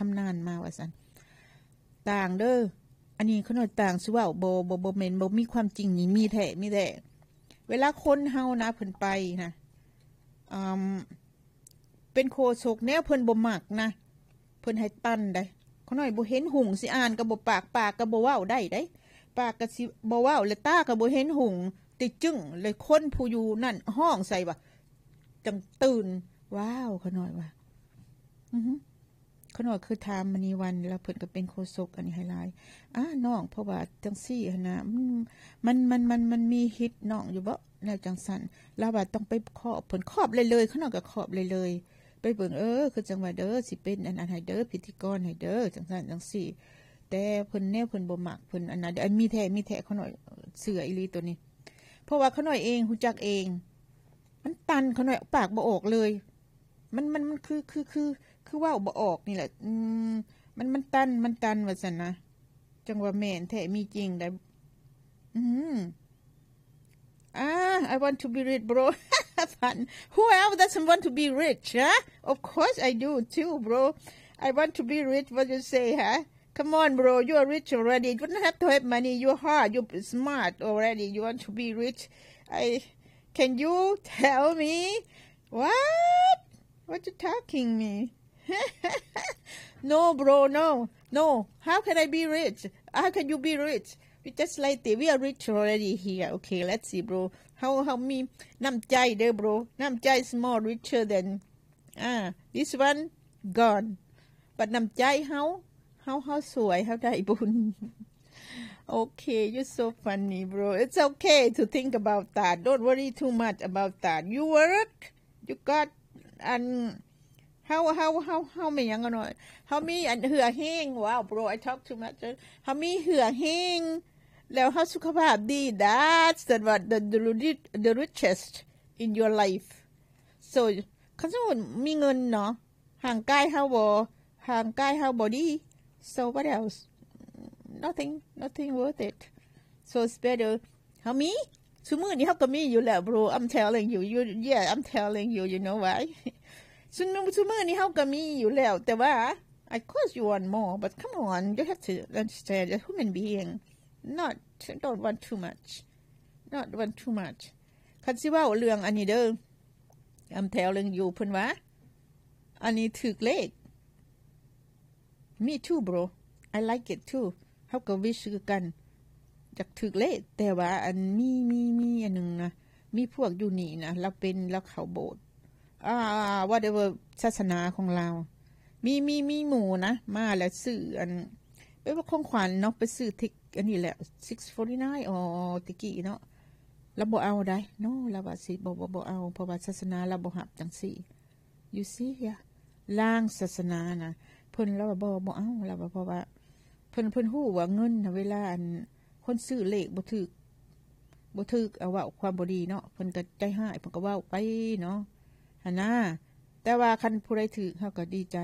ຊຳນານມາວ່າຊັ້ນ. ຕ່າງເດີ ອັນນີ້ຂ້ານ້ອຍຕ່າງຊິເວົ້າ ບໍ່ ບໍ່ ບໍ່ແມ່ນ ບໍ່ມີຄວາມຈິງນີ້ ມີແທ້ ມີແທ້. ເວລາຄົນເຮົານະ ເພິ່ນໄປນະ ອາ ເປັນໂຄສົກແນວເພິ່ນບໍ່ມັກນະ ເພິ່ນໃຫ້ຕັນໄດ໋. ຂ້ານ້ອຍບໍ່ເຫັນຫຸ່ງຊິອ່ານກໍບໍ່ປາກ ປາກກໍບໍ່ເວົ້າໄດ້ໄດ໋ ປາກກໍຊິບໍ່ເວົ້າ ແລະ ຕາກໍບໍ່ເຫັນຫຸ່ງ ຕິຈຶ້ງ ແລະ ຄົນຜູ້ຢູ່ນັ້ນຮ້ອງໃສ່ວ່າ ຈັ່ງຕື່ນ. ວ້າວ ຂ້ານ້ອຍວ່າ ອື ຂ້ານ້ອຍເຄີຍຖາມມະນີວັນ ແລ້ວເພິ່ນກໍເປັນໂຄສົກອັນນີ້ໃຫ້ຫຼາຍ. ອາ ນ້ອງ ເພາະວ່າຈັ່ງຊີ້ຫັ້ນນະ ມັນ ມັນ ມັນ ມັນ ມັນມີຮີດນ້ອງຢູ່ບໍ ແນວຈັ່ງຊັ້ນ. ລາວວ່າຕ້ອງໄປຄອບເພິ່ນ ຄອບເລີຍໆ ຂ້ານ້ອຍກໍຄອບເລີຍໆ ໄປເບິ່ງ ເອີ ຄືຈັ່ງວ່າເດີ ຊິເປັນອັນນັ້ນໃຫ້ເດີ ພິທີກອນໃຫ້ເດີ ຈັ່ງຊັ້ນຈັ່ງຊີ້. ແຕ່ເພິ່ນ ແນວເພິ່ນບໍ່ມັກ ເພິ່ນອັນນັ້ນ ອັນມີແທ້ ມີແທ້ ຂ້ານ້ອຍເຊື່ອອີ່ຫຼີໂຕນີ້ ເພາະວ່າຂ້ານ້ອຍເອງ ຮູ້ຈັກເອງ ມັນຕັນ ຂ້ານ້ອຍປາກບໍ່ອອກເລີຍ. ມັນ ມັນ ມັນຄື ຄື ຄື ຄືເວົ້າບໍ່ອອກນີ້ແຫຼະ ອືມ ມັນ ມັນຕັນ ມັນຕັນວ່າຊັ້ນນະ. ຈັ່ງວ່າແມ່ນແທ້ ມີຈິງໄດ໋ ອືມ. ອາ I want to be rich, bro. Fun. Who else doesn't want to be rich, huh? Of course I do too, bro. I want to be rich. What you say, huh? Come on, bro. You are rich already. You don't have to have money. You're hard. You're smart already. You want to be rich. I, can you tell me? What? What you talking me? No, bro, no. No. How can I be rich? How can you be rich? We just like this. We are rich already here. Okay, let's see, bro. ເຮົາ ເຮົາມີນ້ຳໃຈເດີ bro. ນ້ຳໃຈ is more richer than, ah, this one gone. But ນ້ຳໃຈເຮົາ ເຮົາ ເຮົາສວຍ ເຮົາໄດ້ບຸນ. Okay, you're so funny, bro. It's okay to think about that. Don't worry too much about that. You work, you got, and ເຮົາ ເຮົາ ເຮົາ ເຮົາມີຫຍັງເນາະ ເຮົາມີອັນເຫື່ອແຮງ. Wow, bro, I talk too much. ເຮົາມີເຫື່ອແຮງ ແລ້ວເຮົາສຸຂະພາບດີ. That's the, what the, the, the richest in your life. So ຄັນສົມມຸດມີເງິນເນາະ ຮ່າງກາຍເຮົາບໍ່ ຮ່າງກາຍເຮົາບໍ່ດີ. So what else? Nothing, nothing worth it. So it's better ເຮົາມີ ຊຸມື້ນີ້ເຮົາກໍມີຢູ່ແລ້ວ bro. I'm telling you, you, yeah, I'm telling you, you know why? ຊຸ ຊຸມື້ນີ້ເຮົາກໍມີຢູ່ແລ້ວ ແຕ່ວ່າ of course you want more, but come on, you have to understand, a human being, not, don't want too much, not want too much. ຄັນຊິເວົ້າເລື່ອງອັນນີ້ເດີ I'm telling you ເພິ່ນວ່າ ອັນນີ້ຖືກເລກ. Me too, bro. I like it too. ເຮົາກໍ wish ຄືກັນ ຢາກຖືກເລກ. ແຕ່ວ່າອັນ ມີ ມີ ມີອັນໜຶ່ງນະ ມີພວກຢູ່ນີ້ນະ ລາວເປັນ ລາວເຂົ້າໂບດ ອ່າ whatever ສາສະໜາຂອງລາວ. ມີ ມີ ມີໝູ່ນະ ມາແລ້ວຊື້ອັນ ເປັນຂອງຂວັນເນາະ ໄປຊື້ທິກ ອັນນີ້ແຫຼະ six forty-nine ອໍ ແຕ່ກີ້ເນາະ. ລາວບໍ່ເອົາໃດ໋ no. ລາວວ່າຊິ ບໍ່ ບໍ່ ບໍ່ເອົາ ເພາະວ່າສາສະໜາລາວບໍ່ຮັບຈັ່ງຊີ້. You see here? ລາງສາສະໜານະ ເພິ່ນລາວວ່າບໍ່ ບໍ່ເອົາ. ລາວວ່າ ເພາະວ່າເພິ່ນ ເພິ່ນຮູ້ວ່າເງິນນະ ເວລາອັນ ຄົນຊື້ເລກບໍ່ຖືກ ບໍ່ຖືກ ເອົາເວົ້າຄວາມບໍ່ດີເນາະ ເພິ່ນກໍໃຈຮ້າຍ ເພິ່ນກໍເວົ້າໄປເນາະ ຫັ້ນນາ. ແຕ່ວ່າຄັນຜູ້ໃດຖືກ ເຮົາກໍດີໃຈ.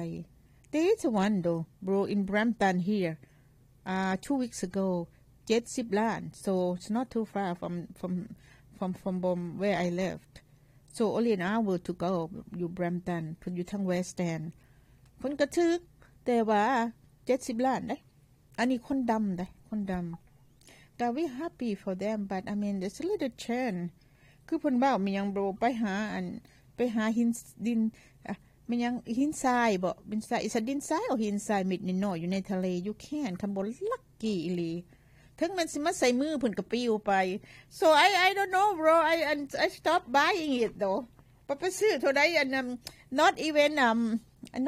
There is one though, bro, in Brampton here, uh, two weeks ago, ເຈັດສິບລ້ານ. So it's not too far from, from, from, from where I lived. So only an hour to go. ຢູ່ Brampton ເພິ່ນຢູ່ທາງ West End ເພິ່ນກໍຖືກ ແຕ່ວ່າ ເຈັດສິບລ້ານເດ້. ອັນນີ້ຄົນດຳເດ້ ຄົນດຳ. ກະ we happy for them, but I mean, there's a little chance. ຄືເພິ່ນເວົ້າ ແມ່ນຫຍັງ bro? ໄປຫາອັນ ໄປຫາຫີນ ດິນ ອະ ແມ່ນຫຍັງ ຫີນຊາຍບໍ? ດິນຊາຍ is a ດິນຊາຍ ຫຼື ຫີນຊາຍເມັດນ້ອຍໆ ຢູ່ໃນທະເລ. You can ຄັນບໍ່ lucky ອີ່ຫຼີ ເຖິງແມ່ນຊິມາໃສ່ມື ເພິ່ນກໍປິວໄປ. So I, I don't know, bro. I, I, I stop buying it though. ໄປ ໄປຊື້ເທົ່າໃດ ອັນນັ້ນ not even, um,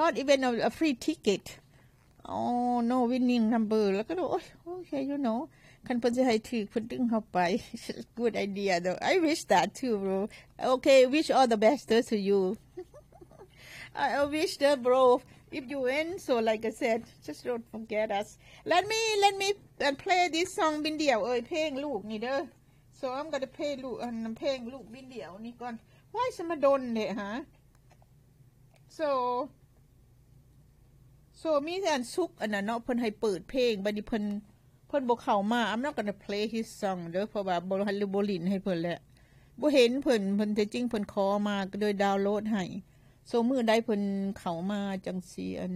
not even a, a free ticket. Oh no, winning number. ແລ້ວກໍ ໂອ້ຍ ໂອເຄ you know ຄັນເພິ່ນຊິໃຫ້ຖືກ ເພິ່ນດຶງເຮົາໄປ. Good idea though. I wish that too, bro. Okay, wish all the best to you. I, I wish that, bro, if you win, so like I said, just don't forget us. Let me, let me, uh, play this song ບິນດ່ຽວເອີຍ ເພງລູກນີ້ເດີ. So I'm gonna play ລູກ ອັນ ເພງລູກບິນດ່ຽວນີ້ກ່ອນ. Why ສະມາດົນແທ້ຫາ? So, so ມີແຕ່ອັນສຸກອັນນັ້ນເນາະ ເພິ່ນໃຫ້ເປີດເພງ ບັດນີ້ເພິ່ນ ເພິ່ນບໍ່ເຂົ້າມາ. I'm not gonna play his song ເດີ ເພາະວ່າບໍ່ ບໍ່ຫຼິ້ນໃຫ້ເພິ່ນແຫຼະ ບໍ່ເຫັນເພິ່ນ. ເພິ່ນ ແທ້ຈິງເພິ່ນຂໍມາ ກໍເລີຍດາວໂຫຼດໃຫ້. So ມື້ໃດເພິ່ນເຂົ້າມາຈັ່ງຊິ ອັນ